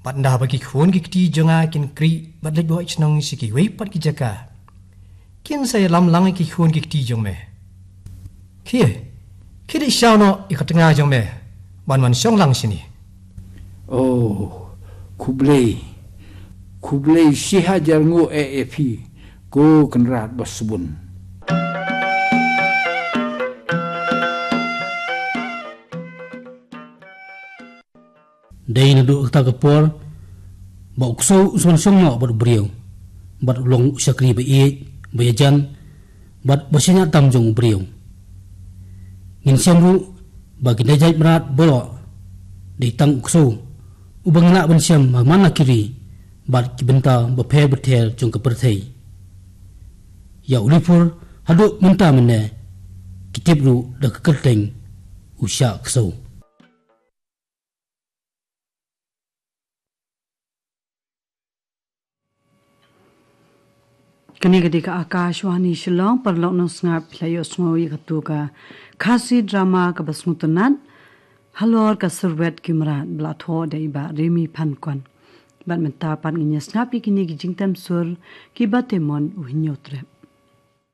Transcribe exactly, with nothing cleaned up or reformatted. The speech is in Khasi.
Bad nda ba ki khun ki kti jong nga kin kri bad leit boi shnong sha kiwei pat ki jaka, kin sa ïalam lang ïa ki khun ki kti jong me. Khie, khie dei shaw noh ïa ka tnga jong me ban wan shong lang shini. Oh, khublei. Khublei shihajar nguh eh ïa phi, ko Kynrad Basbun. Dei naduh kata ka por ba u ksew u sa wan shong noh bad u briew, bad u long u shakri ba ïeit, ba ïajan, bad ba shaniah tam jong u briew. Ngin shem ruh ba ki nongjait mrad baroh dei tang u ksew uba ngi lah ban shem ha man la ki ri bad ki bynta bapher bapher jong ka pyrthei. Ïa u Lipur haduh mynta mynne ki tip ruh da ka kyrteng u Shah Ksew. Kane ka dei ka Akashvani Shillong, paralok nongsngap, phi la ïohsngew ïa katu ka Khasi drama kaba sngewtynnat, Halor ka Surwet Ki Mrad, ba la thoh da i Bah Rimi Phankwon. Bad mynta pat ngin ïa sngap ïa kine ki jingtem sur kiba te mon u Hynñiewtrep.